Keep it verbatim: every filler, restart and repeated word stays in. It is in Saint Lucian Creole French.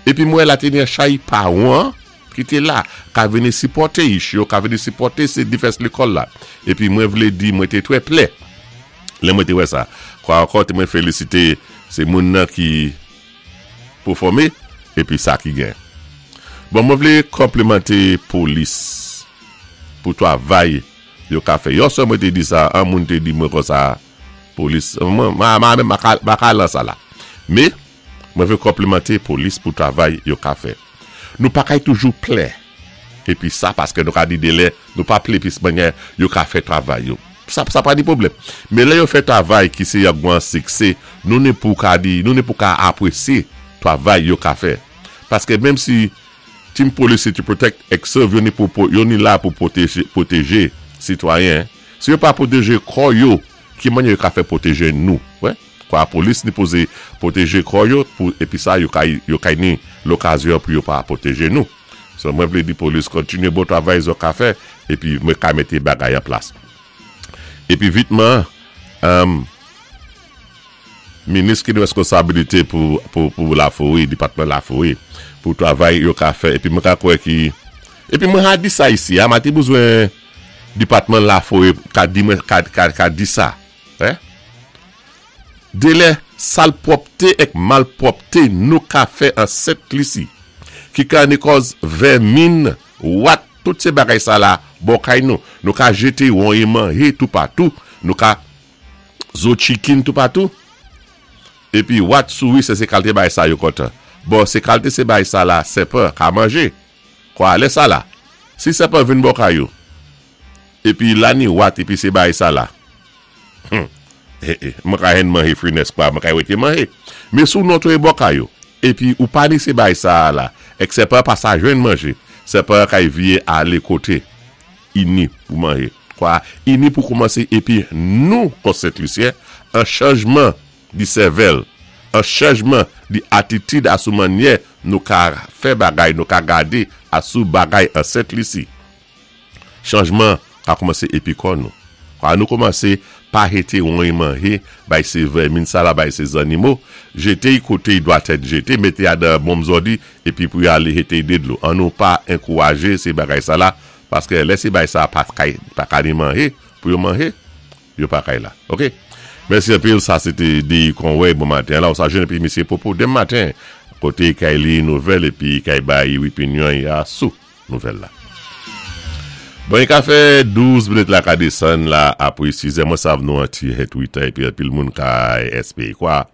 Épi mwen la té ni chay pawan ki té la, ka vini sipòté ich yo, ka vini sipòté sé divès lékòl la. Épi mwen vlé di mwen té twè plè. Lè mwen té wè sa. Kwa ankò té mwen félisité sé moun nan ki pèfòmé épi sa ki gen. Bon, mwen vlé konplimanté polis pou twavay yo ka fè. Yon swa mwen té di sa, an moun té di mwen kon sa polis, mwen ma ma ma ma ka lan sa la. Mé mwen vlé konplimanté polis pou twavay yo ka fè. Nou pa kay toujou plè. Épi sa paské nou ka di délè, nou pa plè pi mannyè yo ka fè twavay yo. Sa sa pa di pwoblèm. Mé lè yo fè twavay ki sé yon gwan siksé, nou ni pou ka di, nou ni pou ka apwésyé twavay yo ka fè. Paské menm si team police to protect ek serve yo ni pou yo ni la pou pwotéjé pwotéjé sitwayen. Si yo pa pwotéjé kò yo, ki mannyè yo ka fè pwotéjé nou, wè? Kwa polis ni pozé pwotéjé kò yo pou épi sa yo kay yo kay ni lokazyon pou yo pa pwotéjé nou. So mwen vlé di polis kontinyé bon twavay zo ka fè épi mwen ka mété bagay an plas. Épi vitman um, minis ki ni weskonsabilité pou pou pou Laforé, dépatman Laforé, pou twavay yo ka fè épi mwen ka kwè ki épi mwen ha di sa isi, a ma té bezwen dépatman Laforé ka di mwen ka ka, ka di sa. Hein? Délè salpwòpté ek malpwòpté nou ka fè an Sent Lisi ki ka ni kòz vèmin, wat, tout sé bagay sa la bò kay nou. Nou ka jété wonye manjé toupatou, nou ka zo chicken toupatou. Épi wat souri sé sé kalité bagay sa yo kontan. Bon, sé kalité sé bagay sa la, sèpan ka manjé. Kwa lè sa la. Si sèpan vin bò kay ou, épi la ni wat épi sé bagay sa la. Hmm. Eh, eh, mwen ka hen manje frines kwa, mwen ka wete manje. Mé sou notwé bò kay ou, épi ou pa ni sé bagay sa la, ek sèpan pa sa jwenn manjé, sèpan kay vyé alé koté, ini pou manje. Kwa, ini pou koumansé, épi nou, kon Sent-Lisyen, an chanjman di sèvèl, an chanjman di atitid asou mannyè nou ka fè bagay, nou ka gadé asou bagay an Sent Lisi. Chanjman ka koumansé épi kò nou. Kwa nou koumansé pa jété wonye manje, bay sé vèmin sa la, bay sé zannimo, jété y koté y dwatèt jété, mété a dan bonm zòdi, épi pou y alé jété dé dlo. An nou pa ankourajé sé bagay sa la, paské lè sé bagay sa pa kay, pa ka ni manje, pou yo manje, yo pa kay la. Ok? Mèsi anpil, sa sé té di Conway bon maten. La, ou sa jwenn épi Misyé Popo denmen maten, koté kay li nouvèl épi kay bay opinyon ya sou nouvèl la. Bon, i ka fè douz minit la ka désann la apwé sis è. Mwen sav nou an ti Twitter épi anpil moun ka S P kwa.